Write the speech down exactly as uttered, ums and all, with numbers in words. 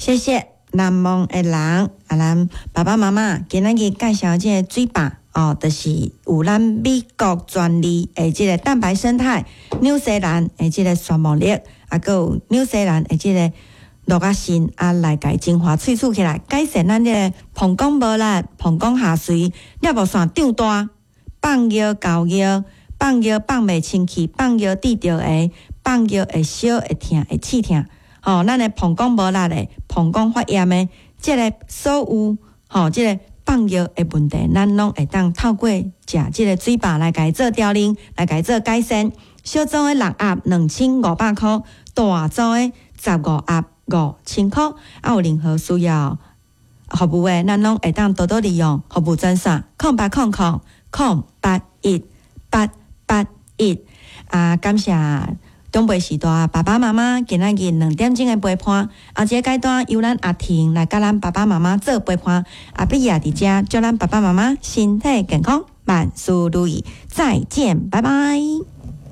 謝謝難忘的人，啊，咱爸爸媽媽今仔日介紹這个水壩哦，就是有咱美國專利的這个蛋白胜肽，紐西蘭的這个酸茉莉，啊，閣有紐西蘭的這个鹿仔腎啊，來共精華萃取起來，改善咱這个膀胱無力、膀胱下垂、尿布腺長大、放尿厚尿、放尿放袂清氣、放尿滴著的、放尿會燒、會疼、會刺疼。吼，咱的膀胱無力的、膀胱發炎的，這个所有吼，這个放尿的問題，咱攏會當透過食這个水壩來共伊做調理，來共伊做改善。小組的六盒兩千五百箍，大組的十五盒五千箍。啊，有任何需要服務的，咱攏會當多多利用服務專線：空八空空空八一八八一。啊，感謝長輩時代爸爸媽媽今仔日兩點鐘的陪伴，啊，這个階段由咱阿婷來佮咱爸爸媽媽做陪伴，阿碧也佇遮祝咱爸爸媽媽身體健康，萬事如意，再見，拜拜。